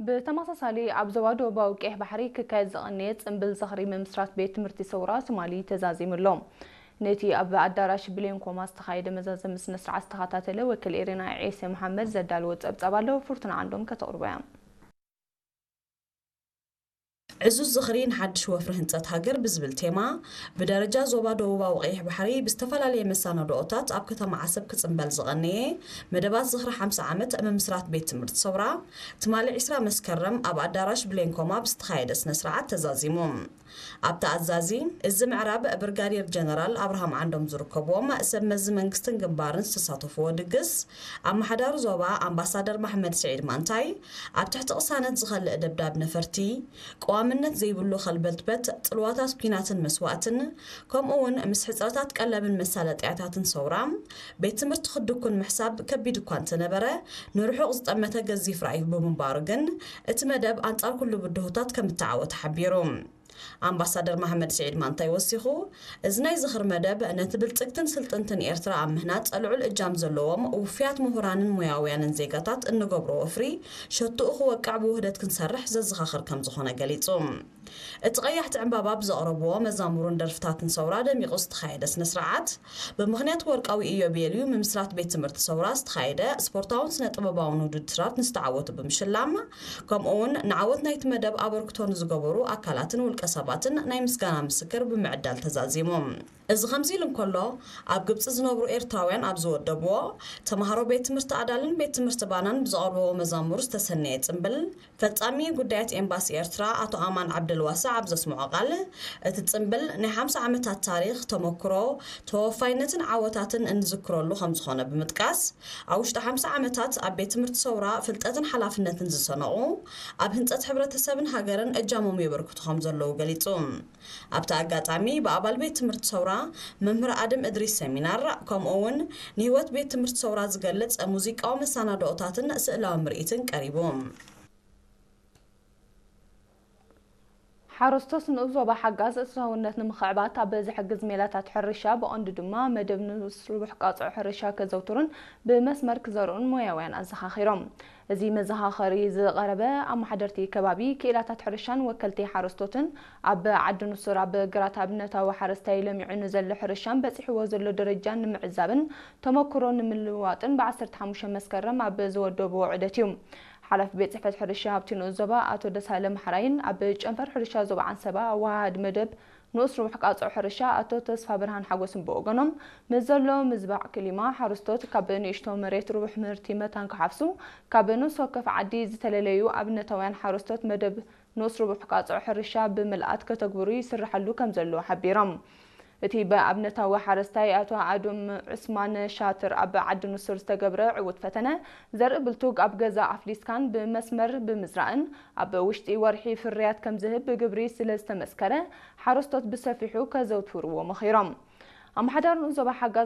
ብተመሳሳሊ ኣብ ዞባ ደቡባዊ ቀይሕ ባሕሪ ክካየድ ዝቐነየ ጽምብል ዝኽሪ ምምስራት ቤት ትምህርቲ ሰውራ ትማሊ ተዛዚሙ ኣሎ። ነቲ ኣብ ኣዳራሽ ብሌን ኮማ ዝተኻየደ መዛዘሚ ስነ ስርዓት ዝተኸታተለ ወኪል ኤሪና ዒሴ መሓመድ ዘዳለዎ ጸብጻብ ኣሎ፣ ፍርቱና ዓንዶም ከተቕርቦ እያ። ዕዙዝ ዝኽሪ ንሓድሽ ወፍሪ ህንጸት ሃገር ብዝብል ቴማ፣ ብደረጃ ዞባ ደቡባዊ ቀይሕ ባሕሪ ብዝተፈላለየ መሰናድኦታት ኣብ ከተማ ዓሰብ ክጽምበል ዝቐነየ መደባት ዝኽሪ ሓምሳ ዓመት ምምስራት ቤት ትምህርቲ ሰውራ፣ ትማሊ ዕስራ መስከረም ኣብ ኣዳራሽ ብሌን ኮማ ብዝተኻየደ ስነ ስርዓት ተዛዚሙ። ኣብቲ ኣዛዚ፣ እዚ ምዕራብ ብርጋዴር ጀነራል ኣብርሃም ዓንዶም ዝርከብዎም ሰብ መዚ መንግስትን ግንባርን ዝተሳተፍዎ ድግስ፣ ኣመሓዳሪ ዞባ ኣምባሳደር ማሕመድ ስዒድ ማንታይ፣ ኣብ ትሕቲ ቅሳነት ዝኸልእ ደብዳብ ነፈርቲ፣ ቀዋምነት ዘይብሉ ከልበትበት፣ ጽልዋታት ኲናትን መስዋእትን፣ ከምኡ እውን ምስ ሕጽረታት ቀለብን መሳለጥያታትን ሰውራ፣ ቤት ትምህርቲ ክድኩን ምሕሳብ ከቢድ እኳ እንተነበረ፣ ንርሑቕ ዝጠመተ ገዚፍ ራእይ ብምንባሩ ግን፣ እቲ መደብ ኣንጻር ኩሉ ብድሆታት ከም እተዓወተ ሓቢሩ። ኣምባሳደር ማሕመድ ስዒድ ማንታይ ወሲኹ፣ እዚ ናይ ዝኽሪ መደብ ነቲ ብልጽግትን ስልጥንትን ኤርትራ ኣብ ምህናጽ ልዑል እጃም ዘለዎም ውፉያት ምሁራንን ሞያውያንን ዜጋታት እንገብሮ ወፍሪ ሸትኡ ክወቅዕ ብውህደት ክንሰርሕ ዘዘኻኽር ከም ዝኾነ ገሊጹ። እቲ ቀያሕቲ ዕምባባ ብዘቕረብዎ መዛሙርን ደርፍታትን ሰውራ ደሚቑ ዝተኻየደ ስነ ስርዓት፣ ብምኽንያት ወርቃዊ ኢዮቤልዩ ምምስራት ቤት ትምህርቲ ሰውራ ዝተኻየደ ስፖርታውን ስነ ጥበባውን ውድድራት ንዝተዓወቱ ብምሽላም፣ ከምኡ እውን ንዓወት ናይቲ መደብ ኣበርክቶ ንዝገበሩ ኣካላትን ውልቀ ሰባትን ናይ ምስጋና ምስክር ብምዕዳል ተዛዚሙ። እዚ ከምዚ ኢሉ እንከሎ፣ ኣብ ግብጺ ዝነብሩ ኤርትራውያን ኣብ ዝወደብዎ፣ ተምሃሮ ቤት ትምህርቲ ኣዳልን ቤት ትምህርቲ ባናን ብዘቕርብዎ መዛሙር ዝተሰነየ ጽምብል፣ ፈጻሚ ጉዳያት ኤምባሲ ኤርትራ ኣቶ ኣማን ዓብደልዋሳዕ ኣብ ዘስምዖ ቃል፣ እቲ ጽምብል ናይ ሓምሳ ዓመታት ታሪኽ፣ ተመክሮ፣ ተወፋይነትን ዓወታትን እንዝክረሉ ከም ዝኾነ ብምጥቃስ፣ ኣብ ውሽጢ ሓምሳ ዓመታት ኣብ ቤት ትምህርቲ ሰውራ ፍልጠትን ሓላፍነትን ዝሰነቑ፣ ኣብ ህንጸት ሕብረተሰብን ሃገርን እጃሞም የበርክቱ ከም ዘለዉ ገሊጹ። ኣብቲ ኣጋጣሚ ብኣባል ቤት ትምህርቲ ሰውራ መምህር ኣድም እድሪስ ሰሚናር፣ ከምኡ እውን ንህይወት ቤት ትምህርቲ ሰውራ ዝገልጽ ሙዚቃዊ መሰናድኦታትን ስእላዊ ምርኢትን ቀሪቡ። ሓረስቶት ንኡስ ዞባ ሓጋዝ እታውነት ንምኽዕባት ኣብ ዝሕግዝ ሜላታት ሕርሻ፣ ብቐንዱ ድማ መደብ ንኡስ ርቡሕ ቃጽዖ ሕርሻ ከዘውትሩን ብመስመር ክዘርኡን ሞያውያን ኣዘኻኺሮም። እዚ መዘኻኸሪ ዝቐረበ፣ ኣመሓደርቲ ከባቢ፣ ክኢላታት ሕርሻን ወከልቲ ሓረስቶትን ኣብ ዓዲ ንሱር ኣብ ግራት ኣብነታዊ ሓረስታይ ለሚዑ ንዘሎ ሕርሻን በጺሕዎ ዘሎ ደረጃን ንምዕዛብን ተመክሮ ንምልውዋጥን ብ ዓሰርተ ሓሙሽተ መስከረም ኣብ ዝወደብዎ ዑደት እዩ። ሓላፊ ቤት ጽሕፈት ሕርሻ ኣብቲ ንኡስ ዞባ ኣቶ ደሳለ መሓራይን ኣብ ጨንፈር ሕርሻ ዞባ ዓንሰባ ኣወሃሃዲ መደብ ንኡስ ርቡሕ ቃጽዖ ሕርሻ ኣቶ ተስፋ ብርሃን ሓጎስን ብወገኖም፣ ምስ ዘሎ ምዝባዕ ክሊማ ሓረስቶት ካብ ንእሽቶ መሬት ርቡሕ ምህርቲ መታን ክሓፍሱ፣ ካብ ንኡስ ወከፍ ዓዲ ዝተለለዩ ኣብነታውያን ሓረስቶት መደብ ንኡስ ርቡሕ ቃጽዖ ሕርሻ ብምልኣት ከተግብሩ ይስርሓሉ ከም ዘሎ ሓቢሮም። እቲ ብኣብነታዊ ሓረስታይ ኣቶ ኣዱም ዑስማን ሻትር ኣብ ዓዲ ንሱር ዝተገብረ ዕዉት ፈተነ፣ ዘርኢ ብልቱግ ኣብ ገዛ ኣፍሊስካን ብመስመር ብምዝራእን ኣብ ውሽጢ ወርሒ ፍርያት ከም ዝህብ ብግብሪ ስለ ዝተመስከረ፣ ሓረስቶት ብሰፊሑ ከዘውትርዎ መኺሮም። ኣመሓዳሪ ንኡስ ዞባ ሓጋዝ